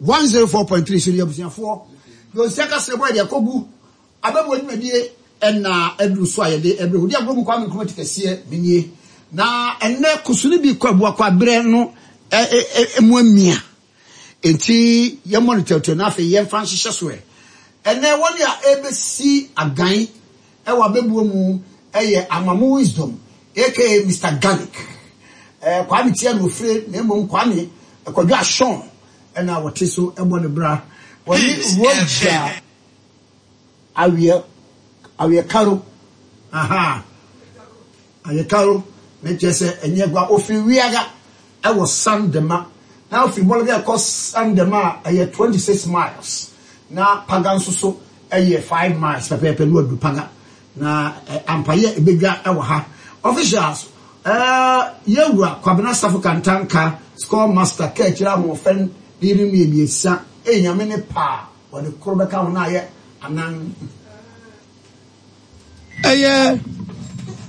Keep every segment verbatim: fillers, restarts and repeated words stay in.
one zero four point three so ne abusuafoɔ deɛ ɔsi aka sɛ bɔ yɛde akɔgu abɛbɔ dwumadie ɛna aduru so a yɛde ɛbrɛ wodi agorɔ mu Kwame Nkrumah ti kɛseɛ menie na ɛnɛ kusuni bi kɔ abuakɔ aberɛ no ɛ ɛ ɛ mu amia enti yɛmmɔ no tɛwtɛw na afei yɛmfa nhyehyɛ so ɛ ɛnɛ wɔne a ɛbɛsi agan ɛwɔ abɛbuo mu ɛyɛ Amamu Wisdom aka Mister Garlic ɛɛ Kwame tia na ofire na mmom Kwame Kwadwo Ashon ɛna wɔte so ɛbɔ ne bra wɔne Roger Awiɛ Awiɛ aha Awiɛ Karo ne kyerɛ sɛ ɛnyɛ gua ofiri Wiaga ɛwɔ Sandema na ofiri Bɔlga ɛkɔ Sandema a ɛyɛ twenty six miles na Paga nso so ɛyɛ five miles pɛpɛɛpɛ no adu Paga na ampayɛ ebedwa ɛwɔ ha. Officials ɛɛ yɛwura Kwabena Safo Kantanka score master kɛkyerɛ ahoɔfɛn ne yiri mmiɛnsa ɛyɛ Nyame ne paa wɔde koro bɛka ho na ayɛ anan. Ɛyɛ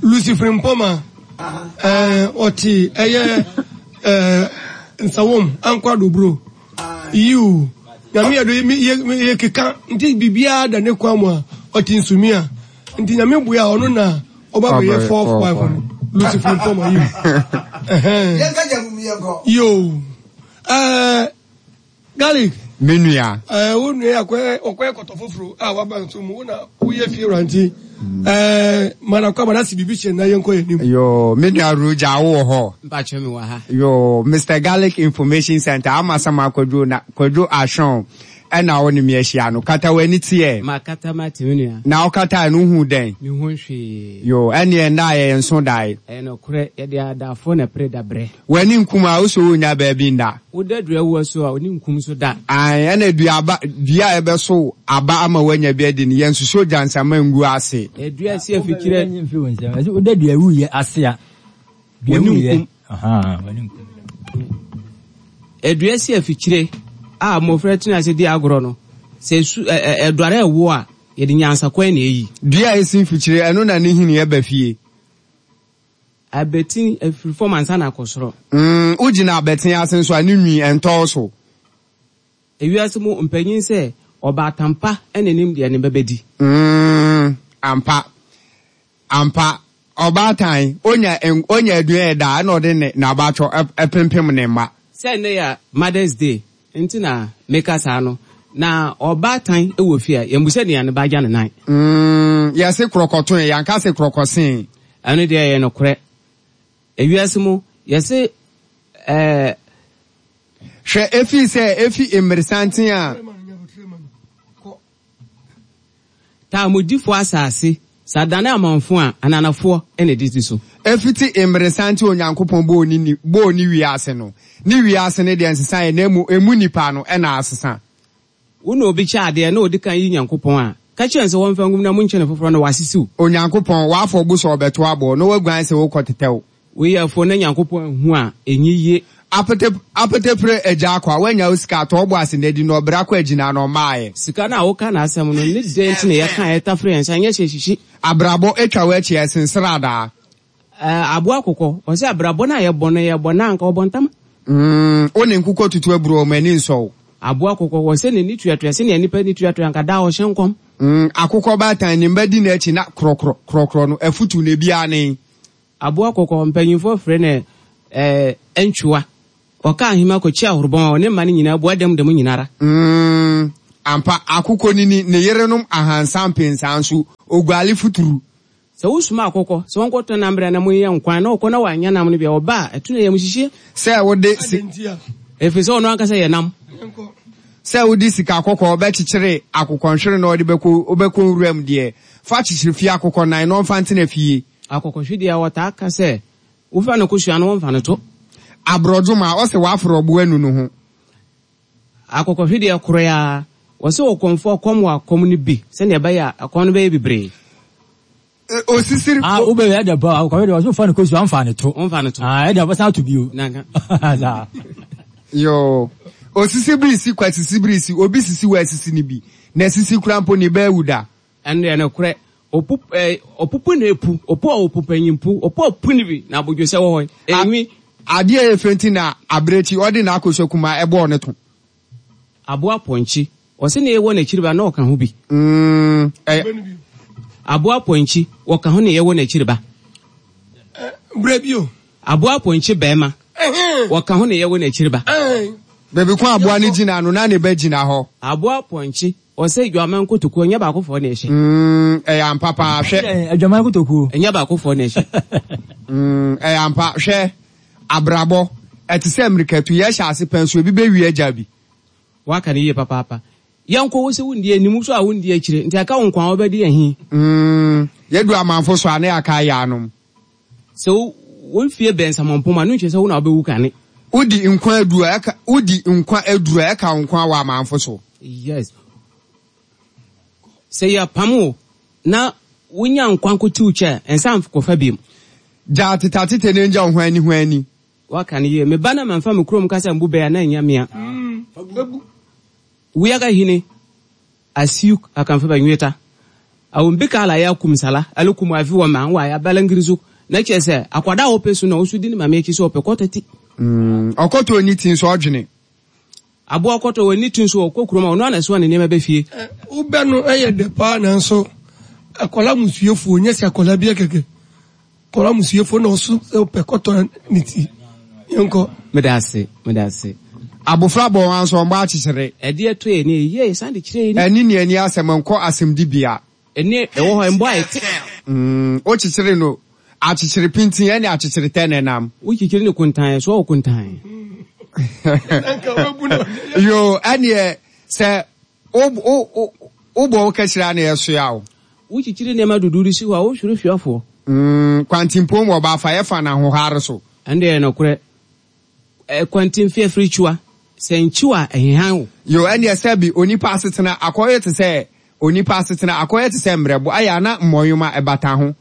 Lucifer Mpɔma ɛɛ ɔte ɛyɛ ɛɛ Nsawom Ankwadobro yiw Nyame yɛ do yɛ yɛ keka nti biribiara da ne kwan mu a ɔte nsumi a nti Nyame boa a ɔno na ɔba bɛyɛ fourth wife no, Lucifer Mpɔma yiw. Yɛnka gya mu yɛnkɔ. Yo, ɛɛ Garlic. Me nua. Ɛɛ wo nua yɛ akɔyɛ ɔkɔyɛ kɔtɔ foforɔ a waba nso mu wo na woyɛ fie wura nti ɛɛ mana kɔ abana si biribi hyɛ na yɛnkɔ yɛn nim. Yo, me nua Roger, wo wɔ hɔ? Mpakyɛ, mi wɔ ha. Yo, Mister Garlic Information Center ama sama Kwadwo na Kwadwo Ashon ɛna wo ne me ahyia no. Kata w'ani teɛ. Ma kata ma te, me nua. Na wokata no hu dɛn? Mi ho hwee. Yo, ɛneɛ nna a yɛyɛ nso dae. Ɛyɛ nokorɛ, yɛde adafoɔ na pere dabrɛ. W'ani nkum a wosɛ wonya baabi nda. Woda dua wu so a oni nkum so da. Ae, ɛna dua aba dua a ɛbɛso aba ama woanya bi adi no, yɛnsoso gyansama ngu ase. Edua si afikyire. Woda dua wuyɛ ase a dua W'ani wuyɛ nkum. Aha, w'ani nkum. Edua si afikyire a mmɔfra tena ase di agorɔ no, sɛ esu ɛ ɛ ɛduare ɛwo a yɛde nyansakwan na eyi. Dua a esi mfikyire ɛno na ne hini ɛba fie. Abɛtin efiri fam ansa na akɔ soro. Mm, wogyina abɛten ase nso a ne nwi ɛntɔɔ so. Ewiase mu mpanyin sɛ ɔbaatampa ɛna enim deɛ ne bɛbɛdi. Mm, ampa ampa, ɔbaatan onya onya aduane ɛda ɛna ɔde ne n'abatwɔ ɛpempem ne mma. Sɛ nnɛ yɛ Mother's Day nti na meka saa no, na ɔbaatan wɔ fie a yɛmbusa nea ne ba agya ne nan. Mm, yɛse korɔkɔtoe, yɛnka se korɔkɔsee. Ɛno deɛ yɛ nokorɛ. Ewiase mu yɛse ɛɛ. Hwɛ, efi sɛ efi mmeresanten a. Taamodifoɔ asase sadane amanfo a ananafoɔ ɛna ɛdidi so. Efiti mmeresanten Onyankopɔn bɔɔ ne ni bɔɔ ne wiase no, ne wiase ne deɛ nsesa yɛ na emu emu nipa no ɛna asesa. Wo na obi kyɛ adeɛ na odi kan yi Nyankopɔn a ka kyerɛ sɛ wɔmfa ngum na monkyɛ ne foforɔ na wasisiw. Onyankopɔn wafɔ bo sɛ ɔbɛto abɔ na waguan sɛ wokɔ tetɛw. Wei afuo na Nyankopɔn ahu a ɛnyi yie. Apete apetepere agya akɔ a wanya wo sika atɔ ɔbɔ ase na adi na ɔbrɛ akɔ agyina na ɔmaayɛ. Sika no a woka n'asɛm no ne dɛn nti na yɛka yɛtafere yɛn nsa nyɛ hyɛ hyihyi. Abrabɔ atwa w'akyi ɛsensere adaa. Ɛɛ aboa akokɔ ɔsɛ abrabɔ no a yɛbɔ no yɛbɔ no anka ɔbɔ ntama. Mm, wo ne nkokɔ tutu aburo ɔmo ani nsɔw. Aboa akokɔ wɔ sɛ n'ani tuatua sɛnea nipa ani tuatua anka daa ɔhyɛ nkɔm. Mm, akokɔ baatan ne mba di n'akyi na korɔkorɔ korɔkorɔ no afutu na ebi ane. Aboa kɔkɔ mpanyinfoɔ frɛ no ɛɛ ɛntwiwa ɔka ahema kɔkyi ahorobɔn a ɔne mma no nyinaa bua dɛm dɛm nyinara. Mm, ampa, akokɔ nini ne yerenom ahansa mpensa nso oguale futuru. Sɛ wosoma akokɔ sɛ wɔnkɔtɔ nam berɛ na moyɛ nkwan na ɔkɔ na wanyɛ nam no bia ɔba a ɛto no yɛ mu hyehyɛ. Sɛ wode si ɛfiri sɛ ɔno ankasa yɛ nam. Sɛ wode sika kɔkɔɔ bɛkyekyere akokɔnhwere na ɔde bɛkɔ wobɛkɔ nwuram deɛ fa kyekyere fie akokɔ nan na ɔmfa ntena fie. Akokɔhwedeɛ a wɔtaa ka sɛ wofa no kosua no wɔmfa no to. Aborɔdwoma ɔsɛ waforo ɔbo anu no ho. Akokɔhwedeɛ koro a wɔsɛ ɔkɔmfoɔ kɔm wɔ akɔm no bi sɛnea ɛbɛyɛ a akɔm no bɛyɛ bebree. Osisiri. Ah, wo bɛ yɛ dɛ pa akɔhwɛ deɛ ɔsɛ fa ne kosua ɔmfa ne to. Wɔmfa no to. Ah, ɛdeɛ ɔbɛsan ato bio. Nanka. Saa. Yo, osisi birisi kwa sisi birisi obi sisi wɔ asisi ni bi na sisi kura mpo ne bɛɛ wu da. Ɛno deɛ nokorɛ, ɔpu ɛɛ ɔpupu na epu ɔpu a ɔpu panyimpu ɔpu a ɔpu ne bi na abodwosɛ wɔ hɔ enwi. Adeɛ a yɛ fɛ nti na abirekyi ɔde n'akosua kuma ɛbɔɔ ne to. Aboa pɔnkye, ɔse ne yɛwɔ n'akyiri ba na ɔka ho bi. Mm, ɛyɛ Aboa pɔnkye, wɔka ho ne yɛwɔ n'akyiri ba. Brɛ bio. Aboa pɔnkye bɛrima, Ɛhɛn. wɔka ho ne yɛwɔ n'akyiri ba. Ɛn. Baabi ko aboa no gyina no na ne ba gyina hɔ. Aboa pɔnkye, ɔsɛ adwaman kotokuo, ɛnyɛ baakofoɔ na ɛhyɛ. Mm, ɛyɛ ampa paa, hwɛ. Ɛ, Adwaman kotokuo. Ɛnyɛ baakofoɔ na ɛhyɛ. Mm, ɛyɛ ampa, hwɛ. Abrabɔ, ɛte sɛ mmirikatu, yɛhyɛ ase pɛn so ebi bɛwie agya bi. Waka no yie papaapa. Yɛnkɔ wo sɛ wondi anim so a wondi akyire, nti aka wo nkwa a wobɛdi ahi. Mm, yɛdu amanfo so a ne yɛaka ayɛ anom. Sɛ wo wo mfie bɛn samɔmpom a, no nkyerɛ sɛ wo na wobɛwu kane. Wodi nkwa aduru a ɛka wodi nkwa aduru a ɛka wo nkwa wɔ amanfo so. Yes. Sɛ yɛpam wo na wonya nkwa nkotiw kyɛ a, ɛnsa nkɔfa biom. Gya tetatete ne ngya wo ho ani ho ani. Waka no yie. Me ba na mamfa me kurom kasa mbu bɛɛ a na ɛnyɛ mea. Wiaga hini asiuk akanfa ba nweta. Awon bi kala ya kum sala, alu kum afi wɔ ma wa ya balangirizu. Na kyerɛ sɛ akwadaa a wɔpɛ su na ɔso di ne maame akyi sɛ ɔpɛ kɔtɔ ti. Mm, ɔkɔtɔ ni ti nso ɔdwene. Aboa kɔtɔ wɔ ne ti nso ɔkɔ kurom a ɔno ana soa ne nneɛma bɛ fie. Ɛ, Wobɛ no ɛyɛ dɛ paa, nanso akwadaa musuefoɔ nyɛ sɛ akwadaa bi kɛkɛ. Akwadaa musuefoɔ na ɔso sɛ ɔpɛ kɔtɔ ne ti. Yɛnkɔ. Meda ase, meda ase. Abofra bɔ wɔn nso ɔmbɔ akyekyere. Ɛdeɛ ɛtɔ yɛ ni yie san de kyerɛ yɛ ni. Ɛne ne ani asɛm nkɔ asɛmdibea. Ɛne ɛwɔ hɔ mbɔ a ɛte. Mm, wokyekyere no akyekyere pintin ɛne akyekyere tɛ ne nam. Wokyekyere ne kuntan so ɔwɔ kuntan. Nka wabu no. Yo, ɛneɛ sɛ wo wo wo wobɔ wo kakyira na ɛsoa wo. Wokyekyere nneɛma dudu si hɔ a wohwere hwiafoɔ. Mm, kwantimpom wɔ baafa yɛfa na ahohare so. Ɛnde yɛ nokorɛ. Ɛ kwantimfi afiri kyiwa. Sɛ nkyiwa a ɛhehan wo. Yo, ɛneɛ sɛbi onipa asetena akɔyɛ te sɛ onipa asetena akɔyɛ te sɛ mmerɛbo ayɛ ana mmɔnwoma ɛbata ho.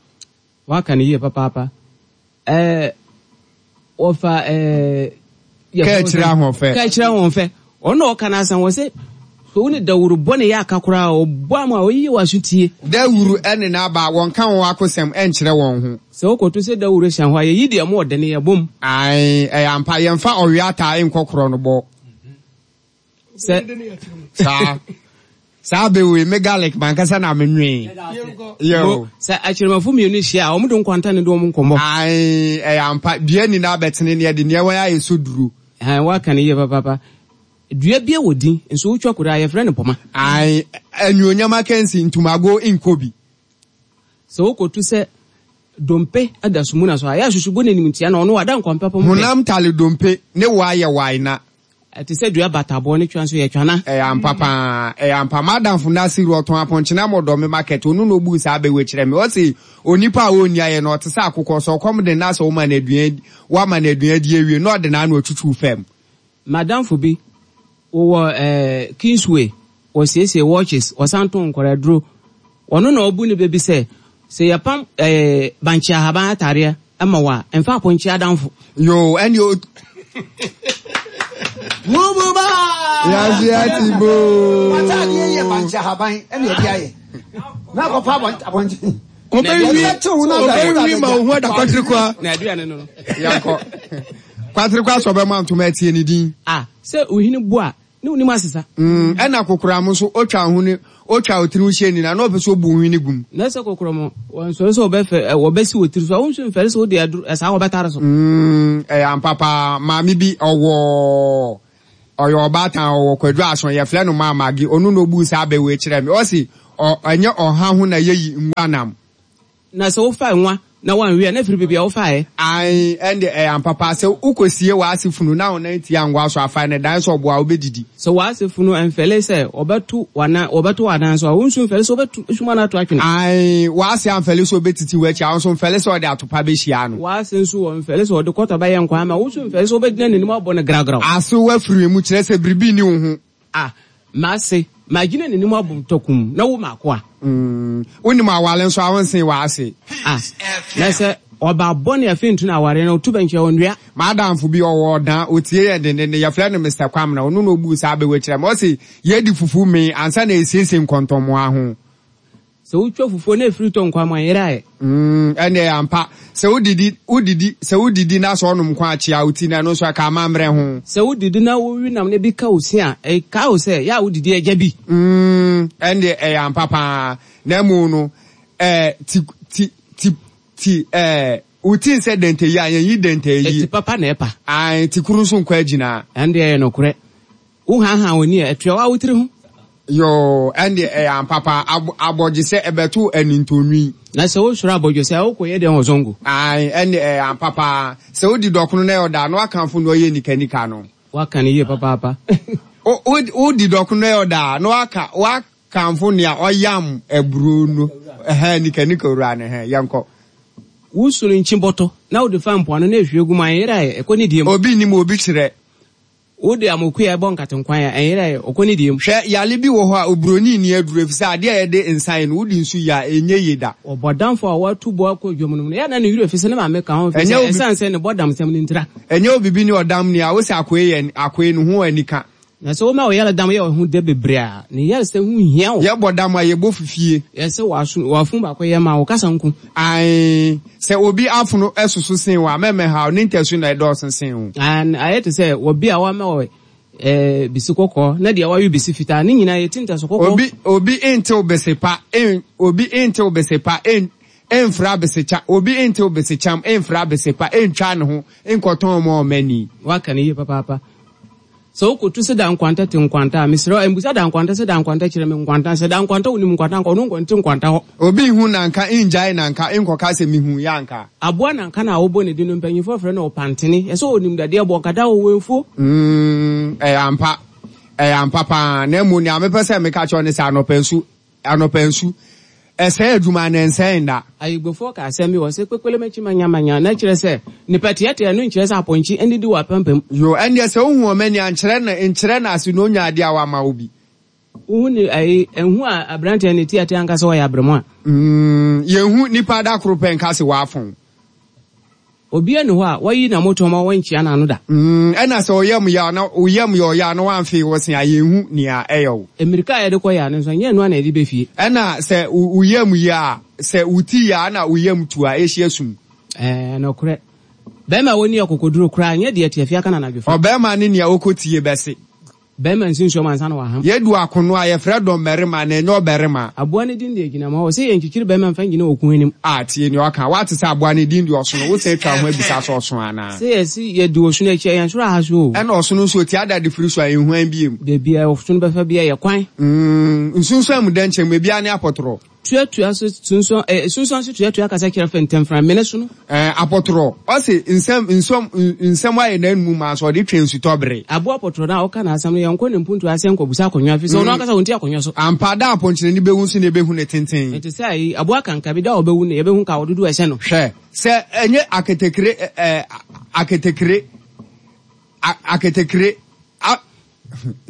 Waka no yie papaapa. Ɛɛ wɔfa ɛɛ. Kaa akyire ahoɔfɛ. Kaa akyire ahoɔfɛ. Ɔno na ɔka n'asɛm wɔ sɛ sɛ wo ne dawuro bɔ ne yɛ aka koraa ɔbɔ ama a ɔyiyi wɔ aso tie. Dawuro ɛne n'aba wɔnka wɔn akosɛm ɛnkyerɛ wɔn ho. Sɛ wokɔto sɛ dawuro hyɛn hɔ a yɛyi deɛ mo ɔde ne yɛ bom. Ae, ɛyɛ ampa, yɛmfa ɔwe ataa nkɔ korɔ no bɔ. Sɛ Saa saa bɛwei me garlic mankasa na menwee. Yo. Sɛ akyerɛmafo mmienu hyia a wɔn de nkwanta ne de wɔn nkɔmmɔ. Ae, ɛyɛ ampa, dua nyinaa bɛtene ne ɛde nea wɔn ayɛ so duro. Ɛn waka no yie papaapa. Dua bi wɔ din nso wotwa koraa yɛfrɛ no pɔma. Ae, anuonyam akansi ntomago nkɔ bi. Sɛ wokɔto sɛ dompe da sumuna so a yɛ asusubo n'anim tia na ɔno wada nkwampɛ pɔm pɛ. Honam tale dompe ne wo ayɛ wae na. Ɛte sɛ dua bataboɔ ne twa nso yɛ twana. Ɛyɛ ampa paa, ɛyɛ ampa. Madamfo Nasiru ɔtɔn apɔnkyena ma ɔdɔ me market, ɔno na ɔbuu saa bɛwɔ kyerɛ me. Ɔse onipa a ɔnni ayɛ no ɔte sɛ akokɔ, sɛ ɔkɔm de na sɛ woma no aduan wama no aduan di awie na ɔde n'ano atwitwiw fam. Madamfo bi wɔ ɛɛ Kingsway, wɔsiesie watches, ɔsan tɔn nkwadaa. Ɔno na ɔbu ne baabi sɛ sɛ yɛpam ɛɛ bankye ahaban ataareɛ ɛma wo a ɛmfa apɔnkye adamfo. Yo, ɛne o Wububa. Yasi ati bo. W'ataadeɛ yɛ bankye ahaban ɛna ɛde ayɛ. Na akɔpa abɔnkye. Ɔbɛwi ɔbɛwi ma wo ho ada kwatere kwa. Na aduane no no. Yankɔ. Kwatere kwa sɛ ɔbɛma ntoma atie ne din. Ah, sɛ ohini bu a ne onim asesa. Mm, ɛna kokoram nso otwa ho ne otwa otiri ho hyia nyinaa na ɔpɛ sɛ obu nhwi ne gum. Na sɛ kokoram wɔnsɔre sɛ wɔbɛfɛ ɛ wɔbɛsi wɔ tiri so a wɔn nso mfɛre sɛ wɔde aduru ɛsaa wɔbɛtare so. Mm, ɛyɛ ampa paa. Maame bi ɔwɔ ɔyɛ ɔbaatan ɔwɔ Kwadwo Aso, yɛfrɛ no Maamage, ɔno na obu saa abɛwɔ kyerɛ me. Ɔsi ɔ ɛnyɛ ɔha ho na yɛyi nwa nam. Na sɛ wofa nwa na wanwie a na firi baabi a wofaeɛ. Ae, ɛnde ɛyɛ ampa paa sɛ wokɔsie w'ase funu na wo nan tia ngwa so afa ne dan sɛ ɔboa wobɛdidi. Sɛ w'ase funu ɛmfɛle sɛ wɔbɛto w'anan wɔbɛto w'anan so a wo nso mfɛle sɛ wobɛto suma no ato atwene. Ae, w'ase amfɛle sɛ obɛtiti w'akyi a wo nso mfɛle sɛ ɔde atopa bɛhyia no. W'ase nso wɔ mfɛle sɛ ɔde kɔtɔ bɛyɛ nkwan ama wo nso mfɛle sɛ wobɛgyina n'anim abɔ no gragraw. Ase wafiri mu kyerɛ sɛ biribi nni wo ho. Ah, m'ase magyina n'anim abɔ tɔkum na wo maako a. Mm, wonim awale nso a wonsen w'ase. Ah, na sɛ ɔba bɔne afei nto no aware no otu bɛnkyɛ ɔnnua. Madamfo bi ɔwɔ ɔdan otie yɛ dendenden, yɛfrɛ no Mister Kwamina, ɔno na obu saa abɛwɔ kyerɛ me. Ɔse yɛdi fufu mee ansa na esiesie nkɔntɔmmoa ho. Sɛ wotwa fufuo na efiri tɔ nkwan mu a, ɛnyera ɛ. Mm, ɛnneɛ ampa. Sɛ wodidi, wodidi, sɛ wodidi na sɛ ɔnom nkwan akyea wo ti no, ɛno nso ɛka amammerɛ ho. Sɛ wodidi na wowe nam no bi ka wo se a, ɛka wo sɛ yɛ a wodidi agya bi. Mm, ɛnneɛ ɛyɛ ampa paa. Na mmom no, ɛɛ, ti, ti, ti, ti, ɛɛ, wo ti nsɛ dɛntɛyi a, yɛnyi dɛntɛyi. Ɛti papa na ɛpa. Ae, ti koro nso nkɔ agyina. Ɛndeɛ ɛyɛ nokorɛ. Wohaahaa w'ani a, ɛtua wo a wo tiri ho. Yoo, ɛndeɛ ɛyɛ ampa paa. Ab, abɔgyesɛ, ɛbɛto anintonwi. Na sɛ wosuro abɔdwesɛ a, wokɔyɛ dɛn wɔ zongo? Ae, ɛndeɛ ɛyɛ ampa paa. Sɛ wodi dɔkono na ɛyɛ ɔda a, na woakamfo nea ɔyɛ nikanika no. Woaka no yie papaapa. Wo, wo, wodi dɔkono na ɛyɛ ɔda a, na woaka, woakamfo nea ɔyam aburo no. Ɛhɛn, nikanika wura no, ɛhɛn, yɛnkɔ. Wosu no nkyi bɔtɔ, na wode fa mpoano na ehwie gu mu a, ɛnyera ɛ, ɛkɔ ne die mu. Obi nnim, obi kyerɛ. Wode amokuya bɔ nkatenkwan a, ɛnyera ɛ, ɔkɔ ne die mu. Hwɛ, yare bi wɔ hɔ a, oburoni nni aduru, efisɛ ade a yɛde nsa yɛ no, wode nsu yɛ a, ɛnyɛ yie da. Ɔbɔdamfo a watu bo akɔ dwam no mu no, ɛyɛ a na ne werɛ fi sɛ ne maame ka ho, efisɛ Ɛnyɛ obi. esiane sɛ ne bɔdamsɛm no ntira. Ɛnyɛ obibi ne ɔdam ni a, wose akoe yɛ, akoe no ho anika. Na sɛ woma wo yaredam yɛ wo ho dɛ bebree a, ne yaresɛ ho nhia wo. Yɛbɔ dam a, yɛbɔ fifie. Yɛ sɛ w'aso, w'afono baako yɛ ma wo kasa nko. Ae, sɛ obi afono soso sen wo a, mɛmmɛhaw, ne ntasu na ɛdɔɔso sen wo. Aane, ayɛ te sɛ obi a wama wo eh, bisi kɔkɔɔ, na deɛ wawe bisi fitaa, ne nyinaa yɛ ti ntasu kɔkɔɔ. Obi, obi ntew bese pa, en, obi ntew bese pa, en, emfra besekya, obi ntew besekyam, emfra bese pa, entwa ne ho, nkɔtɔn ma ɔmani. Woaka no yie papaapa. Sɛ wokotu sɛ da nkwanta te nkwanta a, mesrɛ wo, mmisa da nkwanta sɛ da nkwanta kyerɛ me nkwanta. Sɛ da nkwanta wonim nkwanta anka ɔno nkɔ nte nkwanta hɔ. Obi nhu nanka, ngyae nanka, nkɔka sɛ mehu yɛ anka. Aboa nanka no a wobɔ ne din no, mpanyimfoɔ frɛ no ɔpantene. Ɛsɛ ɔnim dadeɛ bɔ, nkata wɔ mfuo. Mm, ɛyɛ ampa. Ɛyɛ ampa paa. Na mmom nea mepɛ sɛ meka kyerɛ wo ne sɛ anɔpa nsu, anɔpa nsu, ɛsɛe adwuma na ɛnsɛe nna. Ayigbefoɔ ka asɛm bi wɔ sɛ kpekpele makyi manyamanya, na kyerɛ sɛ nipa teatea no nkyerɛ sɛ apɔnkye nnidi wɔ apampam. Yo, ɛndeɛ sɛ wohu wɔn ani a, nkyerɛ no, nkyerɛ no ase na onya adeɛ a wama wo bi. Wohu ne ayi, nhu a aberanteɛ ne teatea nka sɛ ɔyɛ aberɛmoa. Mm, yɛnhu nipa da koro pɛ nka sɛ wafɔn. Obiara nni hɔ a wayi n'amotoɔ ma wɔnkyea n'ano da. Mm, ɛna sɛ ɔyam yɛ a na oyam yɛ ɔyɛ a na wamfee wo se a, yɛnhu nea ɛyɛ wo. Mmirika a yɛde kɔ yɛ ano nso, ɛnyɛ ɛno ara na yɛde bɛ fie. Ɛna sɛ wo yam yɛ a, sɛ wo ti yɛ a na wo yam tu a, ɛhyia sum. Ɛɛ, nokorɛ. Barima a ɔnni akokoduro koraa nyɛ deɛ tiafi aka no anadwo fa. Ɔbarima ne nea ɔkɔtie bɛse. Barima nsi nsuom ansa na waham. Yɛdu akono a, yɛfrɛ dɔmmarima na ɛnyɛ ɔbarima. Aboa no din de agyinam hɔ. Ɔse yɛnkyekyere barima mfa ngyina ɔko anim. A, tie nea ɔka. Woate sɛ aboa no din de ɔsono? Wosan atwa wo ho abisa sɛ ɔso anaa? Sɛ yɛse yɛdi ɔsono akyi a, yɛn soro aha so o. Ɛna ɔsono nso, ɔtia dade firi so a, ɛnhuan biom. Baabi a ɔsono bɛfa biara yɛ kwan. Mm, nsunsuan mu dɛnkyɛm, ebiara ne apɔtorɔ. Tuatua so sunsuan, eh, sunsuan so tuatua kasa kyerɛ fɛntɛmframa mene so no. Eh, apɔtorɔ, ɔse nsɛm, nsɛm, nsɛm ayɛ n'anum ma nso ɔde twɛn nsutɔbere. Aboa apɔtorɔ no a ɔka n'asɛm no, yɛnkɔ ne mpuntuo ase nkɔbusa akonnwa, ɛfiri sɛ ɔno ankasa ɔnti akonnwa so. Ampa, da a apɔnkyerɛni bɛwu nso na yɛbɛhu ne tenten. Ɛte sɛ ayi, aboa kankabi, da a ɔbɛwu no, yɛbɛhu ka dodoɔ a ɛhyɛ no. Hwɛ, sɛ ɛnyɛ aketekre, eh, aketekre, aketekre, a,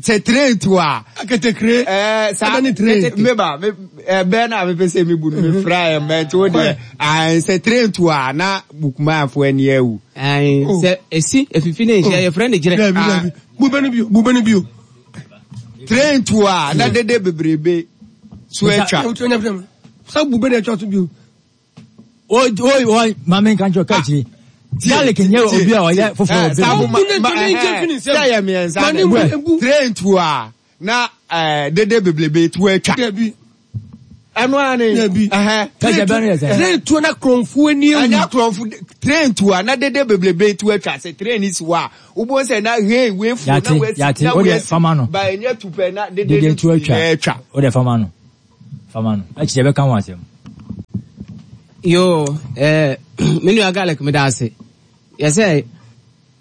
sɛ train tu a. Aketekre. Ɛɛ saa Ɛbɛ ne train. Meba me ɛbɛn na mepɛ sɛ mebu no mefra yɛ mbɛ nti wo deɛ ayi sɛ train tu a na bukumaafo ani awu. Ayi sɛ esi efifi ne nhyia yɛfrɛ ne gyerɛ. Dabi dabi bubɛ no bio bubɛ no bio. Train tu a na dede bebrebe so atwa. Sɛ bubɛ na atwa so bio. O o o maame nka nkyɛn ɔka akyire. Garlic nyɛ obi a ɔyɛ foforɔ wɔ bɛm. Sɛ yɛ mmiɛnsa na train tu a na dede bebrebe tu atwa. Ɛno ara ne. Kakyɛ bɛn yɛ sɛ. Train tu na kurɔnfo ani ewu. Ɛnyɛ kurɔnfo train tu a na dede bebrebe tu atwa sɛ train si hɔ a wobɔ sɛ na hei wefu na wesi na wesi ba ɛnyɛ tu pɛ na dede tu atwa. O de fama no fama no akyire bɛka ho asɛm. Yo, eh, me nua garlic me da ase. Yɛsɛ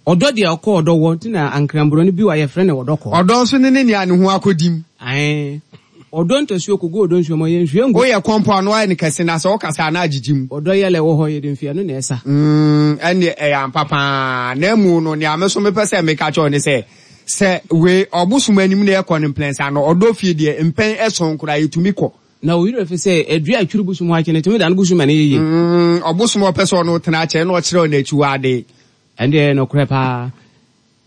ɔdɔ deɛ ɔkɔ ɔdɔ wɔ nti na ankramburo no bi wɔ yɛfrɛ no ɔdɔ kɔ. Ɔdɔ nso ne ne nea ne ho akɔdim. Ae. Ɔdɔ ntasuo kogu ɔdɔ nsuo mu yɛ nsuo ngu. Woyɛ kɔmpɔ ano ayɛ ne kɛse na sɛ wokasa ana agyegye mu. Ɔdɔ yɛlɛ wɔ hɔ yɛde mfeɛ no na ɛsa. Mm, ɛne ɛyɛ ampa paa. Na emu no nea me so mepɛ sɛ meka kyerɛ ne sɛ sɛ we ɔbosom anim na ɛkɔ ne mplɛnsa no ɔdɔ fie deɛ mpɛn ɛsɔn koraa yɛtumi kɔ. Na wo werɛ fi sɛ adua a twiri bosom hɔ akyi no tumi da no bosom ma no yɛ yie. Mm, ɔbosom a ɔpɛ sɛ ɔno tena akyɛ na ɔkyerɛ ɔno akyiwade. Ɛndeɛ nokorɛ paa.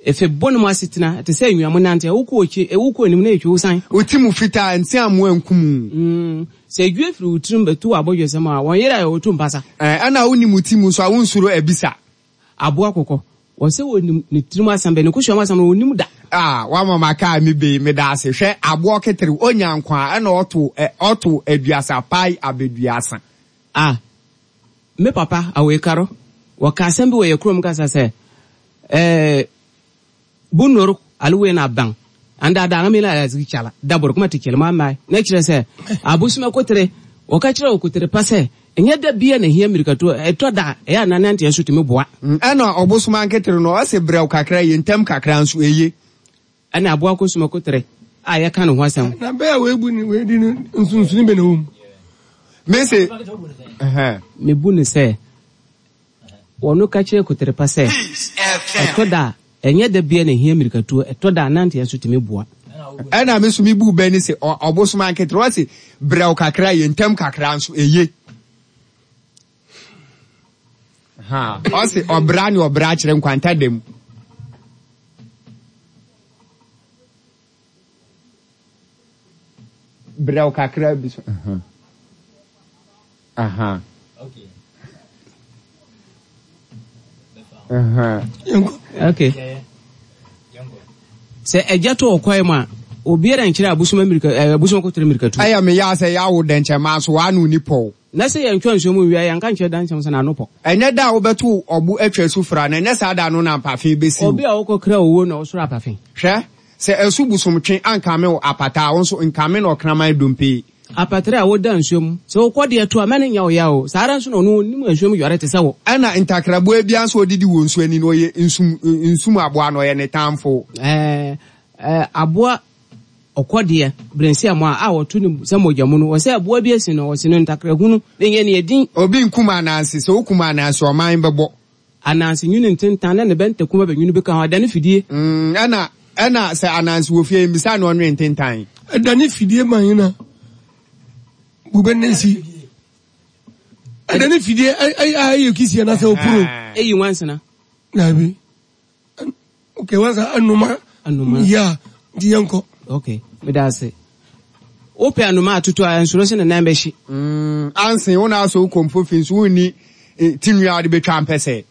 Efe bɔ mu asetena te sɛ nnuamu nante wokɔ okyi wokɔ anim na etwa wo san. Oti mu fitaa nti amu ankum. Mm sɛ edwe firi wo tirim bɛtu abɔdwesɛm a wɔn yere a wɔtu mpasa. Eh ɛna woni mu ti mu so a wonsuro ebisa. Aboa kokɔ wɔsɛ wɔnim ne tirim asɛm bɛ ne kusua asɛm no wɔnim da. Ah wa mama ka mi be me da ase hwɛ aboa ketere onya nkwa ɛna ɔto ɔto aduasa pai abeduasa. Ah me papa awekaro wɔka asɛm bi wɔ yɛ kurom kasa sɛ eh bunor alwe na bang anda da ngami la ya chala dabor kuma ti kelma mai na kire sɛ abusuma kotere wɔka kyerɛ wo kotere pa sɛ ɛnyɛ da bia na hia mirikato ɛtɔ da ɛyɛ na nante ɛso tumi boa. Ɛna ɔbosoma nketere no ɔse brɛw kakra yɛ ntɛm kakra nso eye. Ɛna aboa kosuma kotere a yɛka ne ho asɛm. Na bɛyɛ webu ni wedi ni nsunsuni bɛ na wom. Mese ɛhɛn mebu ne sɛ wɔno ka kyerɛ kotere pa sɛ ɛtɔ da ɛnyɛ da bia na hia mirikato ɛtɔ da nante ɛso tumi boa. Ɛna me so me bu bɛ ni sɛ ɔbosoma nketere ɔse brɛw kakra yɛ ntɛm kakra nso eye. Ha ɔse ɔbra ne ɔbra kyerɛ nkwanta dam. Brɛw kakra bi so. Aha. Okay. Aha. Okay. Sɛ agya to ɔkwae mu a obiara nkyerɛ abusuma mirika abusuma kotere mirika tu. Aya me ya sɛ ya wo dɛnkyɛ ma so wa no ni pɔw. Na sɛ yɛntwa nsuo mu wia yɛnka nkyerɛ dankyɛm sɛ n'ano pɔ. Ɛnyɛ da a wobɛto ɔbo atwa su fra na ɛnyɛ saa da no na apafe bɛsi. Obi a wokɔkra owuo na ɔsoro apafe. Hwɛ sɛ ɛso busomtwe ankame wo apata wo nso nkame na ɔkraman dompe. Apatre a woda nsuo mu sɛ wokɔ deɛ to a mɛne nya wo ya o saa ara nso na ɔno onim nsuo mu yɔre te sɛ wo. Ɛna ntakraboa bia nso odidi wɔ nsuo ani no ɔyɛ nsum nsum aboa no ɔyɛ ne tamfo. Ɛɛ ɛɛ aboa ɔkɔdeɛ brensi amoa a wɔto ne sɛ mogya mu no wɔsɛ aboa bi asi no wɔsi no ntakrahunu ne nyɛ ne edin. Obi nkum anansi sɛ wokum anansi ɔman bɛbɔ. Anansi nwini ntentan na ne bɛntakuma bɛnwini bɛka ho adane fidie. Mm ɛna ɛna sɛ anansi wɔ fie mbisa na ɔnwe ntentan. Adane fidie man yi na bube nensi. Adane fidie ai ai kisi na sɛ opuro. Eyi wansena. Nabi. Okay wansa anuma. Anuma. Yeah, di yanko. Okay, medase. Ope anuma atutu a nsuro se ne nan behyi. Mm anse wo na so komfo fi nso woni tinua de betwa mpese.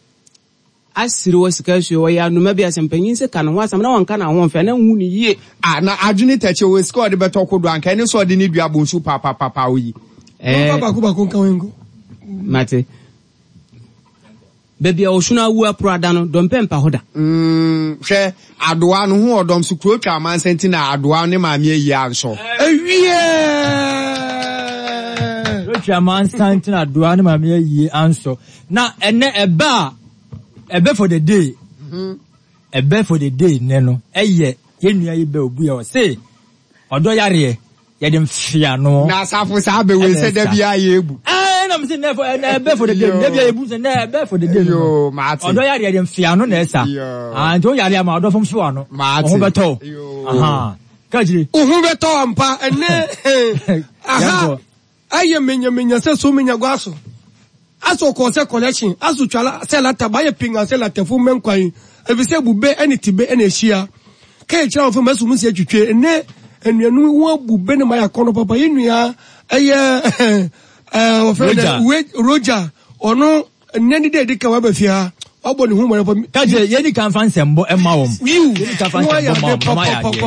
Asiri wo sika hwe wo ya anuma bi asempanyin se ka no ho asam na wonka na ho mfe na hu ne yie. Ah na adwene tache wo sika de betɔ kodo anka ne so de ne dua bonsu pa pa pa pa oyi. Eh ba ko ba ko nka wengo. Mate. Baby a osuna awu apro ada no dompe mpa hoda. Mm hwe adoa no ho odom so kuro twa amansa nti na adoa ne maame ayi anso. Ewie. Kuro twa amansa nti na adoa ne maame ayi anso. Na ene eba ebe for the day. Mhm. Ebe for the day ne no. Eye ye nua yi be obu ya o se odo yare ye dem fia no. Na asafo sa be we se da bia ye ebu. Eh na me se ne for ebe for the day. Ne bia ebu se ne ebe for the day. Yo maati. Odo yare ye dem fia no na esa. Ah nti o yare ama odo fom fia no. Maati. O beto. Aha. Ka jiri. O beto ampa ene. Aha. Aye menya menya se so menya gwaso. Aso ko se collection aso twala se lata ba ye pinga se lata fu menkwan efise bube ene tibe ene hia ka e kira ofo masu musi atwitwe ene enuanu wo bube ne maya kono papa ye nua eye eh ofo ne Roger ono ene ni de dika wa ba fia obo ne hu mo ka je ye ni kan fa nsembo e ma wom ye ni kan fa nsembo ma wom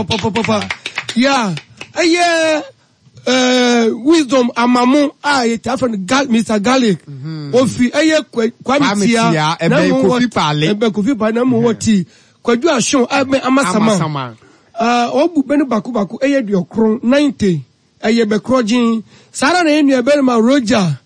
papa papa ya eye Uh, wisdom amamu a yetafa gal Mister Garlic ofi eye kwami tia ebe kofi pale ebe kofi pale na mu woti kwadu ahun ebe amasama ah obu benu baku baku eye duokron ninety eye be krojin sara na enu ebe ma Roger